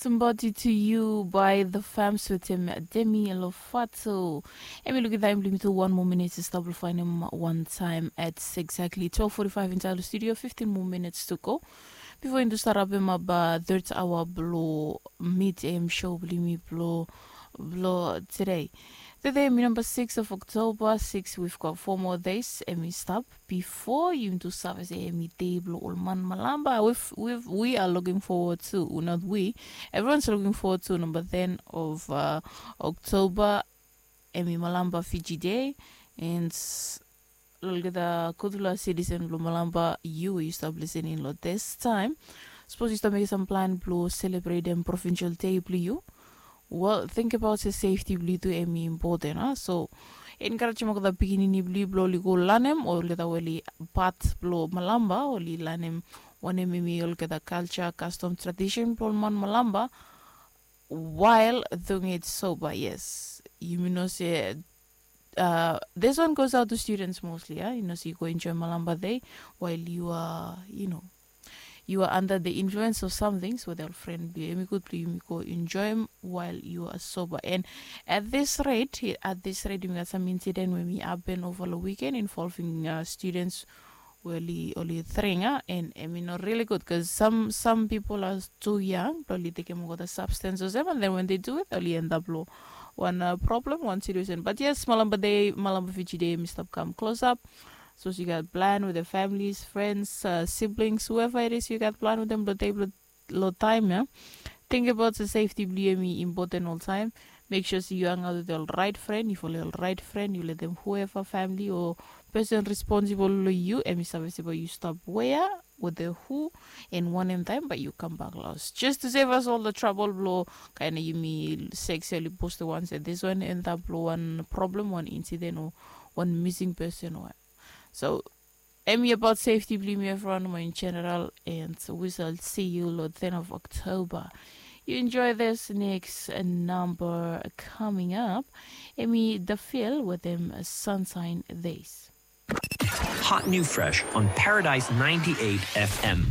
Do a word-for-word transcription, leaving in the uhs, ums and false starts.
Somebody to you by the fams wetem Demi Lovato. Em i lukim taem blong yumi tu wan moa minit i stap long faenem wan taem at exactly twelve forty-five insait long studio, fifteen more minutes to go before yumi tu stap rapem ap third hour blong mid am show blong yumi blong blong today. Today em i number six of October, six, we've got four more days em i stap before yumi tu save se em i dei blong ol man malamba. We've, we've, we are looking forward to, not we, everyone's looking forward to number ten of uh, October. Em i malamba Fiji Day. And olgeta gudfala citizen blong malamba, yu we yu stap lisening long this time, sapos yu stap mekim sam plan blong selebretem provincial day blong yu, well, tingbaot se safety blong yu tu em i impoten a. So enkarejim olgeta pikinini blong yu blong oli go lanem olgeta we oli pat blong malamba, oli lanem wanem em i olgeta kalja, kastom, tradisen blong ol man malamba. Wael doing it soba, yes, yumi no se uh, this one goes out to students mostly, a, yu no se yu go enjoem malamba dei wael yu a, yu no, yu a under the influence of something. So ol fren blong yu, em i gud blong yumi go enjoem wael yu a soba. And at this rate, at this rate yumi gat sam incident we em i hapen ova long wiken involving uh, students we oli, oli dring a, and em i no rili gud bikos sam, sam pipol a tu yang blong oli tekem olgeta substance olsem, and then when they do it oli endap long wan uh, problem, wan situation. But yes, malamba dei, malamba Fiji Day em i stap kam klosap. Sapos yu gat plan with your families, friends, uh, siblings, whoever it is yu gat plan with them blong dei blong long taem ya, tingbaot se safety blong yu em i impoten oltaem. Mek sua se yu hangaot with ol rait fren. If oli ol rait fren, yu letem whoever, famili o pesen responsibol long yu, em i save se bae yu stap wea, with the who, and wanem taem bae yu kambak los, just to save us all the trouble blong kaen yumi sek se oli postem wan se this one endap long wan problem, wan incident o wan missing person o. So em i abaot safety blong yumi evriwan nomo in general. And we shall see you long ten of October. You enjoy this next number coming up. Em i The Feel wetem Sunshine Days. Hot new fresh on Paradise ninety-eight F M.